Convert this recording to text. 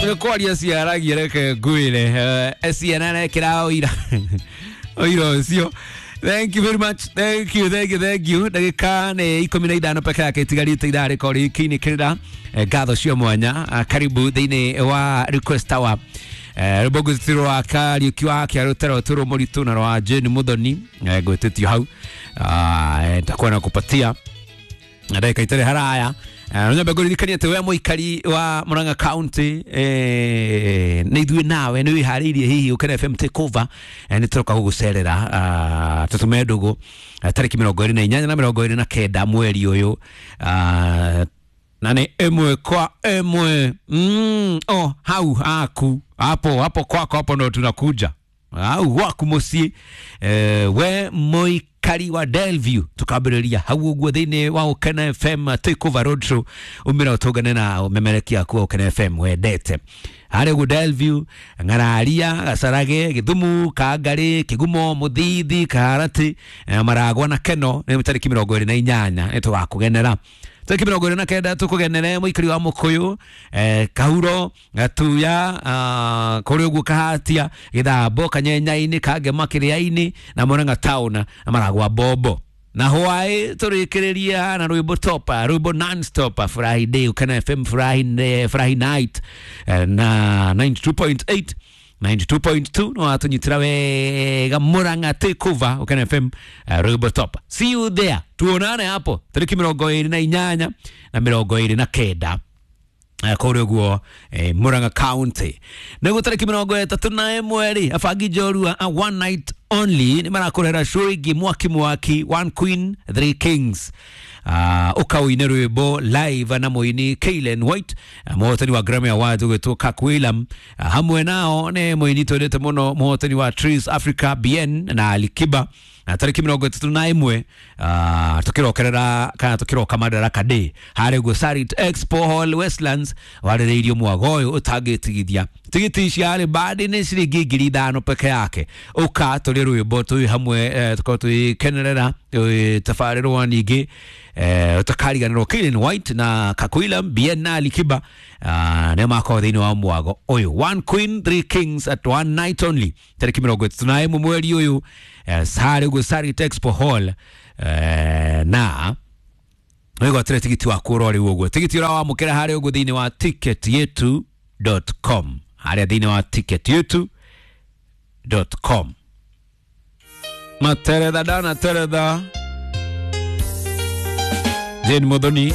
Nĩ kwaria ciaragia, reke ngwĩre ciana rekĩra ũira ũira ũcio. Thank you very much. Thank you, thank you, thank you. Ndagĩka nĩ 15 peke yake itigarĩte ithaa rĩkorwo rĩkĩinĩkĩrĩra. Ngatho cia mwanya. Karibu thĩinĩ wa request hour. Rwĩmbo ngwĩtĩtio rwa Kariũki wa Kĩarũtero tũrũ mũritũ na rwa Jane Muthoni, ngwĩtĩtio hau. Nitakuwa na kupatia ndagĩka itarĩ haraya. Nyambe ngũririkanie atĩ we mũikari wa Murang'a County, nĩ ithuĩ nawe nĩ wĩharĩirie hihi Ũkene FM take over, nĩ tũroka gũgũcerera, tũtume ndũgũ, tarĩki 28 na 29 mweri ũyũ, na nĩ ĩmwe kwa ĩmwe, oh, hau haku hapo hapo kwako hapo ndo tunakuja au gwaku mũciĩ, we mũikari wa Delview, tukambĩrĩria hau ũguo thĩinĩ wa Ũkene FM take over road show. Umĩra ũtũngane na ũmemerekia aku wa Ũkene FM wendete harĩa ũguo Delview, Ng'araria, Gacarage, Gĩthumu, Kangarĩ, Kĩgumo, Mũthithi, Kaharati, Maragwa na Keno. Nĩ tarĩki 28 nĩ tũgakũgenera. Tarĩki 29 tũkũgenere mũikari wa Mũkũyũ, Kahuro, Gatuya, kũrĩ ũguo Kahatia, Gĩthambo, Kanyenyainĩ, Kangema, Kĩrĩa-inĩ na Murang'a town na Maragwa Bombo na hwaĩ tũrĩkĩrĩria na rwĩmbo topa, rwĩmbo non-stop, Friday Ũkena FM Friday, Friday night, na 92.8 92.2 no watũnyitĩra wega Murang'a take over Ũkena FM, rwĩmbo top. See you there, tuonane hapo tarĩki 28 na 29 kũrĩa ũguo, Murang'a County. Nĩguo tarĩki 31 rĩ, abangi njorua a one night only nĩ marakũrehera show ĩngĩ mwaki mwaki, One Queen Three Kings. Ũkaũine rwĩmbo live na mũini Kaylen White, mũhotani wa Grammy Awards ũgwĩtwo Kirk Wheelam. Hamwe nao nĩ mũini twendete mũno, mũhotani wa Trace Africa BN na Alikiba. Na tarĩki 31, tũkĩrokerera kana tũkĩroka Madaraka Day harĩa ũguo Sarit Expo Hall Westlands, warĩrĩirio mwago ũyũ ũtangĩtigithia. Tigiti cia bandi nĩ ciringi 5,000 peke yake. Ũka tũrĩ rwĩmbo twĩ hamwe, tũkorwo tũgĩkenerera tabarĩrwo ningĩ, ũtakariganĩrwo Kaylen White na Kakwila Bien na Alikiba, nĩ makorwo thĩinĩ wa mwago ũyũ One Queen Three Kings at one night only, tarĩki 31 mweri ũyũ, harĩa ũguo Sarit Expo Hall, na wĩgwatĩre tigiti waku ũrorĩ ũguo. Tigiti ũrawamũkĩra harĩa ũguo thĩinĩ wa ticketyetu.com, harĩa thĩinĩ wa ticketyetu.com. Materetha dana teretha Jane Muthoni.